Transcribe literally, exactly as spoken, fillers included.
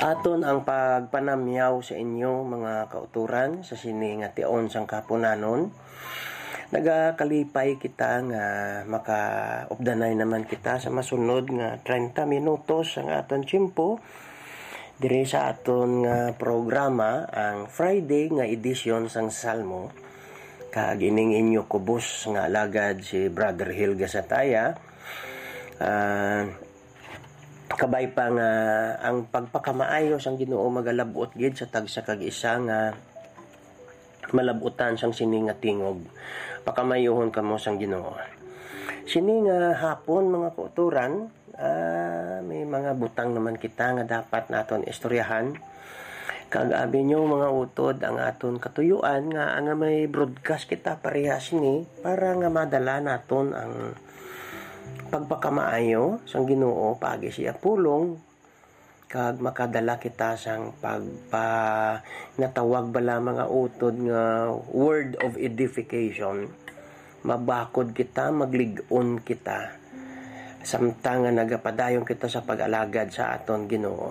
Aton ang pagpanamyaw sa inyo, mga kauturan, sa sini nga tion sang kahaponanon. Nagakalipay kita nga makaupdanay naman kita sa masunod nga treinta minutos ang aton tiyempo diri sa aton nga programa, ang Friday nga edisyon sang Salmo. Kag ining inyo kubos nga alagad, si Brother Hilga Sataya. Ah, kabay pa nga ang pagpakamaayo sang Ginoo magalab-ot gid sa tagsa kag isa nga malab-utan sang sini nga tingog. Pakamaayuhon kamo sang Ginoo. Sini nga hapon, mga kauturan, ah, may mga butang naman kita nga dapat naton istoryahan. Kag abi niyo, mga utod, ang aton katuyuan nga, nga may broadcast kita parehas ni para nga madala naton ang pagpakamaayo sang Ginoo paagi sa iya pulong, kag makadala kita sang pagpa-, natawag bala, mga utod, nga word of edification. Mabakod kita, maglig-on kita, samtang nga nagapadayon kita sa pag-alagad sa aton Ginoo.